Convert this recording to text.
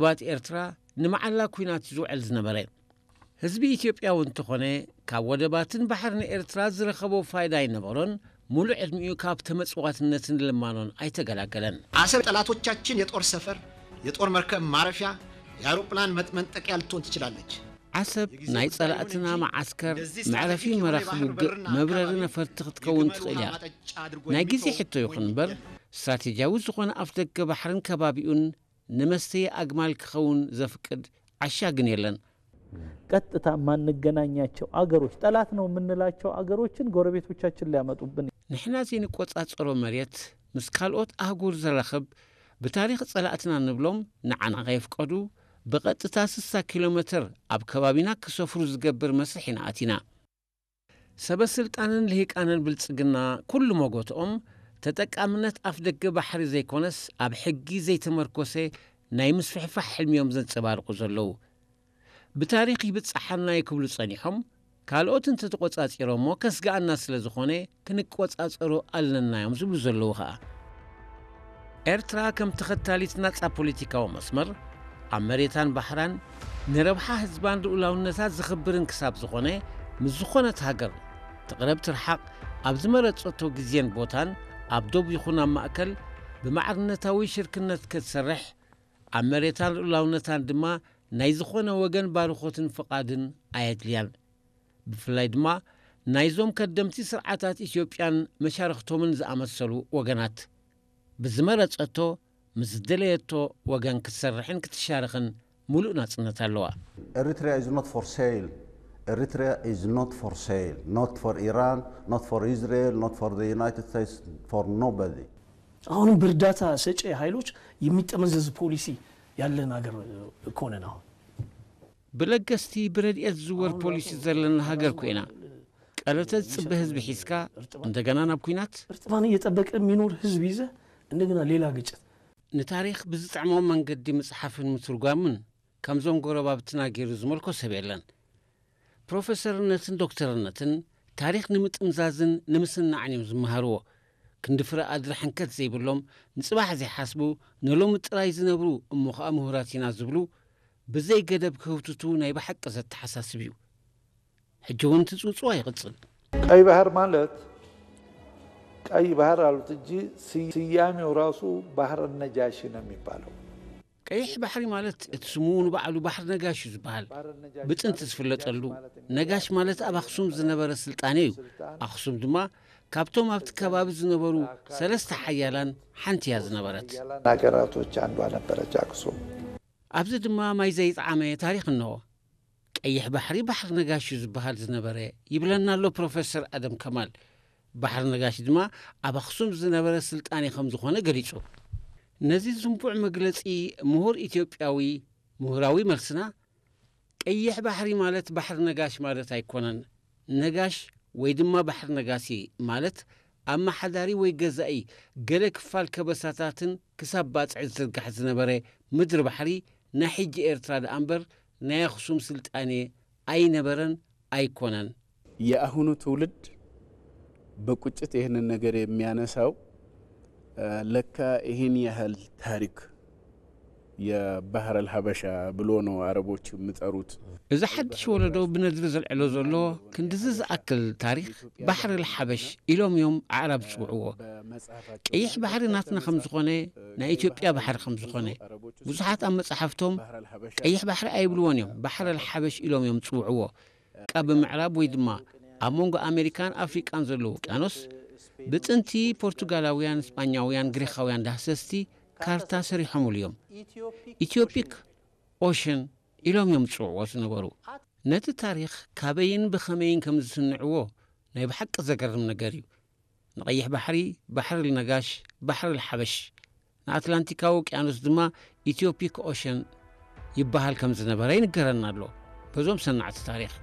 ባት ኤርትራ ንመዓላ ኲናት ዝውዕል ዝነበረ። ህዝቢ ኢትዮጵያ እውን እንተኾነ ካብ ወደባትን ባሕርን ኤርትራ ዝረኸቦ ፋይዳ ኣይነበሮን። ሙሉእ ዕድሚኡ ካብ ተመጽዋትነትን ልማኖን ኣይተገላገለን። አሰብ ጠላቶቻችን የጦር ሰፈር፣ የጦር መርከብ ማረፊያ፣ የአውሮፕላን መጥ- መንጠቂያ ልትሆን ትችላለች። ዓሰብ ናይ ጸላእትና መዓስከር፣ መዕረፊ መራኽብ ውግእ፣ መብረሪ ነፈርቲ ክትከውን ትኽእል እያ። ናይ ግዜ ሕቶ ይኹን እምበር ስትራቴጂያዊ ዝኾነ ኣፍደገ ባሕርን ከባቢኡን ንመስተዪ ኣግማል ክኸውን ዘፍቅድ ዓሻ ግን የለን። ቀጥታ የማንገናኛቸው አገሮች፣ ጠላት ነው የምንላቸው አገሮችን ጎረቤቶቻችን ሊያመጡብን። ንሕና ዘይንቆጻጸሮ መሬት ምስ ካልኦት ኣህጉር ዘራኽብ፣ ብታሪኽ ጸላእትና ንብሎም ንዓና ከየፍቀዱ ብቐጥታ ስሳ ኪሎ ሜትር ኣብ ከባቢና ክሰፍሩ ዝገብር መስርሕ ኢና ኣቲና። ሰበ ስልጣንን ልሂቃንን ብልጽግና ኩሉ መጎትኦም ተጠቃምነት ኣፍደገ ባሕሪ ዘይኮነስ ኣብ ሕጊ ዘይተመርኮሰ ናይ ምስፍሕፋሕ ሕልሚ እዮም ዘንጸባርቑ ዘለዉ። ብታሪኽ ይብጽሓና እዩ ክብሉ ጸኒሖም፣ ካልኦት እንተተቖጻጺሮሞ ከስግኣና ስለ ዝኾነ ክንቆጻጸሮ ኣለና እዮም ዝብሉ ዘለዉ ኸኣ። ኤርትራ ከም ተኸታሊት ናጻ ፖለቲካዊ መስመር ኣብ መሬታን ባሕራን ንረብሓ ህዝባን ልኡላውነታ ዝኽብርን ክሳብ ዝኾነ ምስ ዝኾነት ሃገር ትቕረብ ትርሓቕ ኣብ ዝመረጸቶ ግዜን ቦታን ኣብ ዶብ ይኹን ኣብ ማእከል ብማዕርነታዊ ሽርክነት ክትሰርሕ ኣብ መሬታን ልኡላውነታን ድማ ናይ ዝኾነ ወገን ባርኾትን ፍቓድን ኣየድልያን። ብፍላይ ድማ ናይዞም ከደምቲ ስርዓታት ኢትዮጵያን መሻርኽቶምን ዝኣመሰሉ ወገናት ብዝመረጸቶ ምስ ዝደለየቶ ወገን ክትሰርሕን ክትሻረኽን ሙሉእ ናጽነት ኣለዋ። Eritrea is not for sale. Eritrea is not for sale. Not for Iran, not for Israel, not for the United States, for nobody. አሁንም በእርዳታ ሰጪ ኃይሎች የሚጠመዘዝ ፖሊሲ ያለን ሀገር እኮ ነን። አሁን ብለገስቲ ብረድኤት ዝዝወር ፖሊሲ ዘለና ሃገር ኮይና ቀለተ ዝጽበ ህዝቢ ሒዝካ እንደገና ናብ ኲናት እርጥማን እየጠበቀ የሚኖር ህዝብ ይዘ እንደገና ሌላ ግጭት። ንታሪኽ ብዝጥዕሞ መንገዲ ምጽሓፍን ምትርጓምን ከምዞም ጎረባብትና ገይሩ ዝመልኮ ሰብ የለን። ፕሮፌሰርነትን ዶክተርነትን ታሪኽ ንምጥምዛዝን ንምስናዕን እዮም ዝመሃርዎ። ክንዲ ፍረ ኣድሪ ሕንከት ዘይብሎም፣ ንጽባሕ ዘይሓስቡ፣ ንሎሚ ጥራይ ዝነብሩ እሞ ኸኣ ምሁራት ኢና ዝብሉ ብዘይ ገደብ ክህውትቱ ናይ ብሓቂ ዘተሓሳስብ እዩ። ሕጂ እውን ትጽውጽዋ ይቕጽል። ቀይ ባህር ማለት ቀይ ባህር አሉት እንጂ ስያሜው ራሱ ባህር ነጃሺ ነው የሚባለው። ቀይሕ ባሕሪ ማለት እቲ ስሙ ንባዕሉ ባሕሪ ነጋሽ እዩ ዝበሃል። ብጥንቲ ዝፍለጠሉ ነጋሽ ማለት ኣብ ኣኽሱም ዝነበረ ስልጣኔ እዩ። ኣኽሱም ድማ ካብቶም ኣብቲ ከባቢ ዝነበሩ ሰለስተ ሓያላን ሓንቲ እያ ዝነበረት። ሀገራቶች አንዷ ነበረች አክሱም። ኣብዚ ድማ ማይ ዘይጠዓመ ታሪኽ እንሆ። ቀይሕ ባሕሪ ባሕሪ ነጋሽ እዩ ዝበሃል ዝነበረ ይብለና ኣሎ ፕሮፌሰር ኣደም ከማል። ባሕሪ ነጋሽ ድማ ኣብ ኣኽሱም ዝነበረ ስልጣኔ ከም ዝኾነ ገሊጹ። ነዚ ዝንቡዕ መግለጺ ምሁር ኢትዮጵያዊ ምሁራዊ መልስና፣ ቀይሕ ባሕሪ ማለት ባሕሪ ነጋሽ ማለት ኣይኮነን። ነጋሽ ወይ ድማ ባሕሪ ነጋሲ ማለት ኣመሓዳሪ ወይ ገዛኢ ገለ ክፋል ከበሳታትን ክሳብ ባጽዕ ዝዝርጋሕ ዝነበረ ምድሪ ባሕሪ ናይ ሕጂ ኤርትራ ደኣ እምበር ናይ ኣኽሱም ስልጣኔ ኣይነበረን ኣይኮነን። የአሁኑ ትውልድ በቁጭት ይህንን ነገር የሚያነሳው ለካ ይህን ያህል ታሪክ የባህር አልሀበሻ ብሎ ነው አረቦች የሚጠሩት። እዚ ሓድሽ ወለዶ ብነድሪ ዘልዕሎ ዘሎ ክንድዚ ዝኣክል ታሪኽ ባሕር ኣልሓበሽ ኢሎም እዮም ኣዕራብ ዝጽውዕዎ። ቀይሕ ባሕሪ ናትና ከም ዝኾነ፣ ናይ ኢትዮጵያ ባሕሪ ከም ዝኾነ ብዙሓት ኣብ መጻሕፍቶም ቀይሕ ባሕሪ ኣይብልዎን እዮም፣ ባሕር ኣልሓበሽ ኢሎም እዮም ዝጽውዕዎ። ካብ ምዕራብ ወይ ድማ ኣብ መንጎ ኣሜሪካን ኣፍሪቃን ዘሎ ውቅያኖስ ብጥንቲ ፖርቱጋላውያን፣ ስጳኛውያን፣ ግሪኻውያን ዳህሰስቲ ካርታ ሰሪሖምሉ እዮም። ኢትዮፒክ ኦሽን ኢሎም እዮም ዝጽውዕዎ ዝነበሩ። ነቲ ታሪኽ ካበይን ብኸመይን ከም ዝስንዕዎ ናይ ብሓቂ ዘገርም ነገር እዩ። ንቐይሕ ባሕሪ ባሕሪ ልነጋሽ፣ ባሕሪ ልሓበሽ፣ ንኣትላንቲካዊ ውቅያኖስ ድማ ኢትዮፒክ ኦሽን ይበሃል ከም ዝነበረ ይንገረና ኣሎ በዞም ሰናዕቲ ታሪኽ።